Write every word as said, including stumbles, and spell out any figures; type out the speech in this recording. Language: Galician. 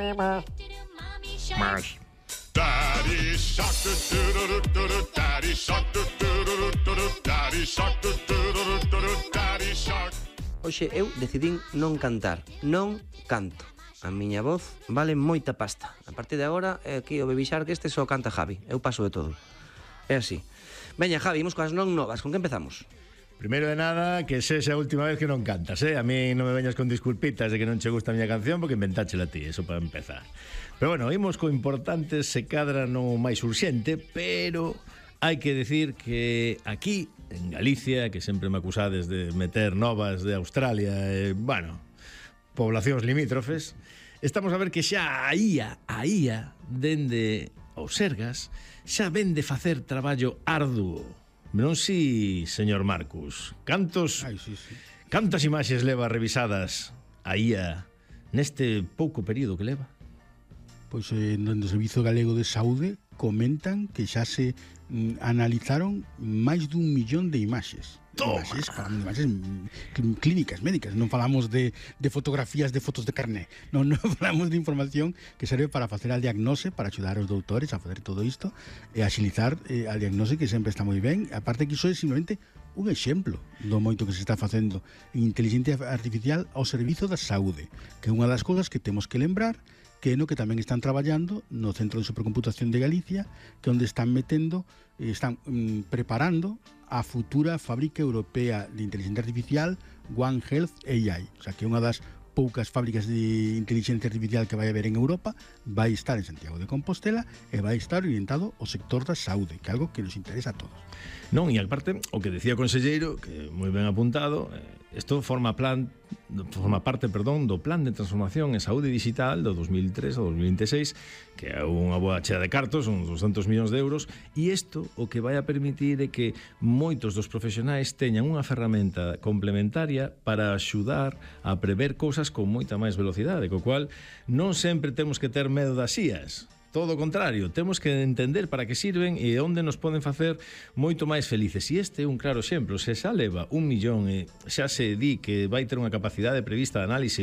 Máis. Daddy shark do do do do do daddy shark do do do do do daddy shark do do do do do daddy shark. Hoxe eu decidín non cantar, non canto. A miña voz vale moita pasta. A partir de agora, é aquí o Baby Shark este só canta Javi. Eu paso de todo. É así. Veña, Javi, imos coas non novas. Con que empezamos? Primeiro de nada, que sexa a última vez que non cantas, eh? A mí non me veñas con disculpitas de que non che gusta a miña canción porque inventáchela ti, eso para empezar. Pero bueno, imos co importante, se cadra no máis urxente, pero hai que decir que aquí, en Galicia, que sempre me acusades de meter novas de Australia, eh, bueno, poblacións limítrofes, estamos a ver que xa a I A, a I A, dende os Sergas, xa ven de facer traballo arduo. Non si, señor Marcus, cantos Ai, sí, sí. cantas imaxes leva revisadas a I A neste pouco período que leva? Pois eh, no Servizo Galego de Saúde comentan que xa se mm, analizaron máis dun millón de imaxes. Toma. Imaxes, falamos de imaxes mm, clínicas, médicas, non falamos de, de fotografías de fotos de carné, non, non falamos de información que serve para facer a diagnose, para axudar os doutores a facer todo isto e axilizar eh, a diagnose, que sempre está moi ben. Aparte que iso é simplemente un exemplo do moito que se está facendo en inteligencia artificial ao servizo da saúde, que é unha das cousas que temos que lembrar, que é no que tamén están traballando no Centro de Supercomputación de Galicia, que onde están metendo, están mm, preparando a futura fábrica europea de inteligencia artificial One Health A I. O sea, que unha das poucas fábricas de inteligencia artificial que vai haber en Europa vai estar en Santiago de Compostela e vai estar orientado ao sector da saúde, que é algo que nos interesa a todos. Non, e aparte, o que decía o conselleiro, que moi ben apuntado, isto forma plan forma parte, perdón, do Plan de Transformación en Saúde Digital do dos mil tres ao dos mil veintiséis, que é unha boa chea de cartos, uns douscentos millóns de euros, e isto o que vai a permitir é que moitos dos profesionais teñan unha ferramenta complementaria para axudar a prever cousas con moita máis velocidade, co cual non sempre temos que ter medo das I As. Todo o contrario, temos que entender para que sirven e onde nos poden facer moito máis felices. E este é un claro exemplo. Se xa leva un millón e xa se di que vai ter unha capacidade prevista de análise